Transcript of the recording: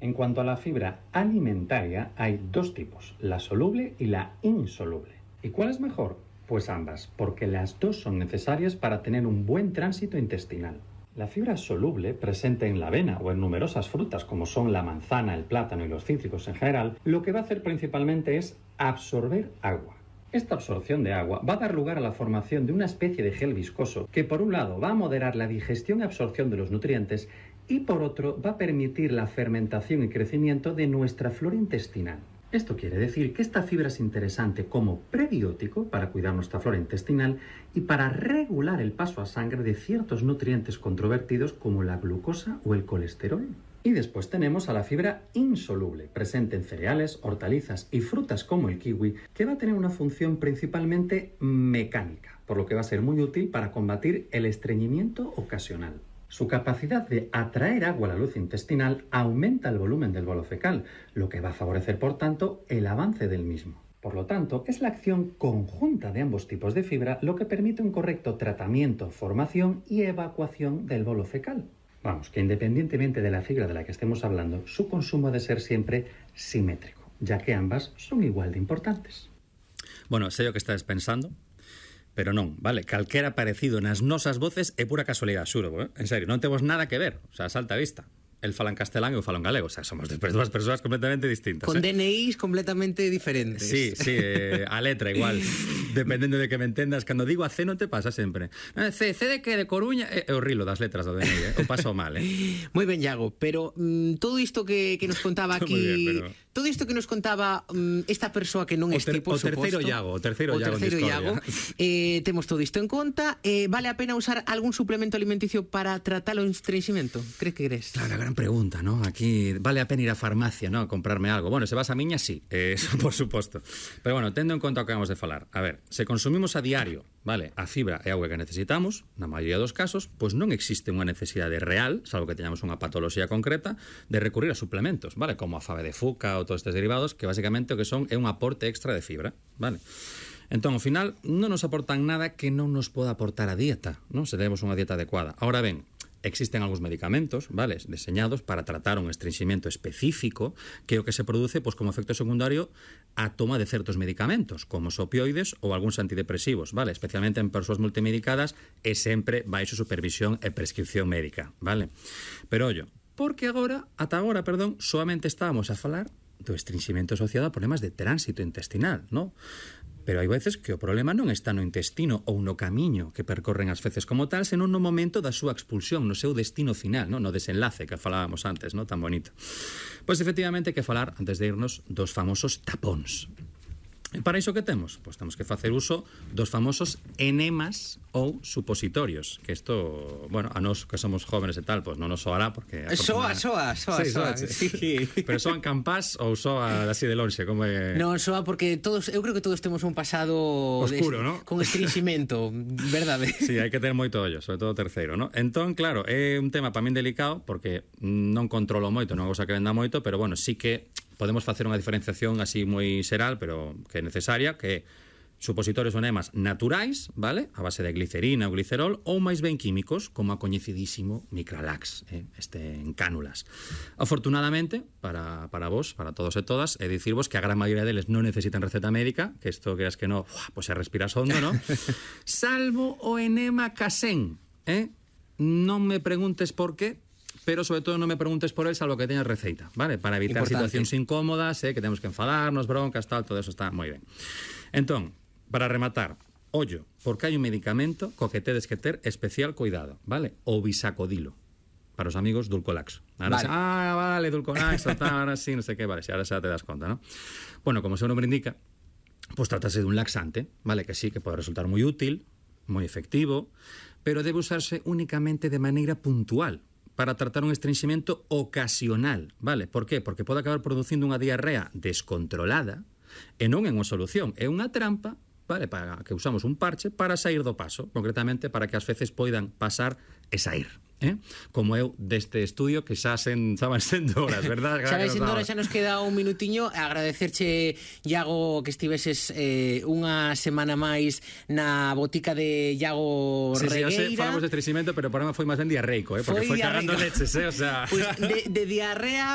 En cuanto a la fibra alimentaria, hay dos tipos, la soluble y la insoluble. ¿Y cuál es mejor? Pues ambas, porque las dos son necesarias para tener un buen tránsito intestinal. La fibra soluble, presente en la avena o en numerosas frutas como son la manzana, el plátano y los cítricos en general, lo que va a hacer principalmente es absorber agua. Esta absorción de agua va a dar lugar a la formación de una especie de gel viscoso que por un lado va a moderar la digestión y absorción de los nutrientes y por otro va a permitir la fermentación y crecimiento de nuestra flora intestinal. Esto quiere decir que esta fibra es interesante como prebiótico para cuidar nuestra flora intestinal y para regular el paso a sangre de ciertos nutrientes controvertidos como la glucosa o el colesterol. Y después tenemos a la fibra insoluble, presente en cereales, hortalizas y frutas como el kiwi, que va a tener una función principalmente mecánica, por lo que va a ser muy útil para combatir el estreñimiento ocasional. Su capacidad de atraer agua a la luz intestinal aumenta el volumen del bolo fecal, lo que va a favorecer, por tanto, el avance del mismo. Por lo tanto, es la acción conjunta de ambos tipos de fibra lo que permite un correcto tratamiento, formación y evacuación del bolo fecal. Vamos, que independientemente de la fibra de la que estemos hablando, su consumo ha de ser siempre simétrico, ya que ambas son igual de importantes. Bueno, sei o que estás pensando, pero non, vale, calquera parecido nas nosas voces é pura casualidade, xuro, en serio, non temos nada que ver, o sea, salta a vista. El fala en castelán e eu falo en galego, o sea, somos dúas persoas completamente distintas. Con DNIs completamente diferentes. Sí, a letra igual, dependendo de que me entendas. Cando digo a C non te pasa sempre. C de que de Coruña, é o rilo das letras do DNI, o paso mal, Moi ben, Iago, pero todo isto que nos contaba aquí, bien, pero... todo isto que nos contaba esta persoa que non é tipo, por suposto. O terceiro Iago, temos todo isto en conta. Vale a pena usar algún suplemento alimenticio para tratar o estreñimiento? Crees que crees? Claro, gran pregunta, ¿no? Aquí vale a pena ir á farmacia, ¿no? A comprarme algo. Bueno, se vas a miña, sí, eso por suposto. Pero bueno, tendo en conta o que vamos de falar. A ver, se consumimos a diario, vale, a fibra e auga que necesitamos, na maioría dos casos, pois non existe unha necesidade real, salvo que teñamos unha patoloxía concreta, de recurrir a suplementos, vale? Como a fave de fuca ou todos estes derivados, que basicamente o que son é un aporte extra de fibra, vale? Entón, ao final, non nos aportan nada que non nos poda aportar a dieta, non? Se demos unha dieta adecuada. Ahora ben, existen algúns medicamentos, vale, deseñados para tratar un estreñimiento específico que o que se produce, pois, como efecto secundario a toma de certos medicamentos, como os opioides ou algúns antidepresivos, vale, especialmente en persoas multimedicadas e sempre baixo supervisión e prescripción médica, vale. Pero ollo, porque ata agora, solamente estábamos a falar do estreñimiento asociado a problemas de tránsito intestinal, non? Pero hai veces que o problema non está no intestino ou no camiño que percorren as feces como tal, senón no momento da súa expulsión, no seu destino final, no desenlace que falábamos antes, no tan bonito. Pois efectivamente hai que falar, antes de irnos, dos famosos tapóns. E para iso que temos? Pois temos que facer uso dos famosos enemas ou supositorios, que isto, bueno, a nós que somos jóvenes e tal, pois non nos soará porque soa. Sí. Pero soan campás ou soa así de lonxe, como é? Non, soa porque eu creo que todos temos un pasado oscuro, ¿no? Con estreñimiento, verdade? Sí, hai que ter moito ollo, sobre todo o terceiro, ¿no? Entón, claro, é un tema para min delicado porque non controlo moito, non é unha cosa que venda moito, pero bueno, sí que podemos facer unha diferenciación así moi xeral, pero que é necesaria, que supositorios ou enemas naturais, vale? A base de glicerina ou glicerol, ou máis ben químicos, como a coñecidísimo Micralax, en cánulas. Afortunadamente, para vos, para todos e todas, é dicirvos que a gran maioría deles non necesitan receta médica, que isto creas que non, pois se respiras hondo, non? Salvo o enema Casen, non me preguntes por qué, pero sobre todo non me preguntes por él, salvo que teñas receita, vale? Para evitar situacións incómodas, que temos que enfadarnos, broncas, tal, todo eso está moi ben. Entón, para rematar, ollo, porque hai un medicamento co que tedes que ter especial cuidado, vale? O bisacodilo, para os amigos Dulcolax. Ahora vale, Dulcolax, ahora sí, non sei que, vale, ahora xa te das conta, ¿no? Bueno, como o seu nome indica, pues tratase dun laxante, vale? Que sí, que pode resultar moi útil, moi efectivo, pero debe usarse únicamente de maneira puntual, para tratar un estreñimiento ocasional, vale? Por qué? Porque pode acabar producindo unha diarrea descontrolada e non é unha solución, é unha trampa, vale? Para que usamos un parche para sair do paso, concretamente para que as feces poidan pasar e sair. Como eu deste estudio que xa van sendo horas, verdad? Xa vai sendo horas, xa nos queda un minutiño. Agradecerche, Iago, que estiveses unha semana máis na botica de Iago Regueira. Sí, falamos de estreñimiento, pero para mí foi máis ben diarreico, porque foi cagando leches, o sea... Pues de diarrea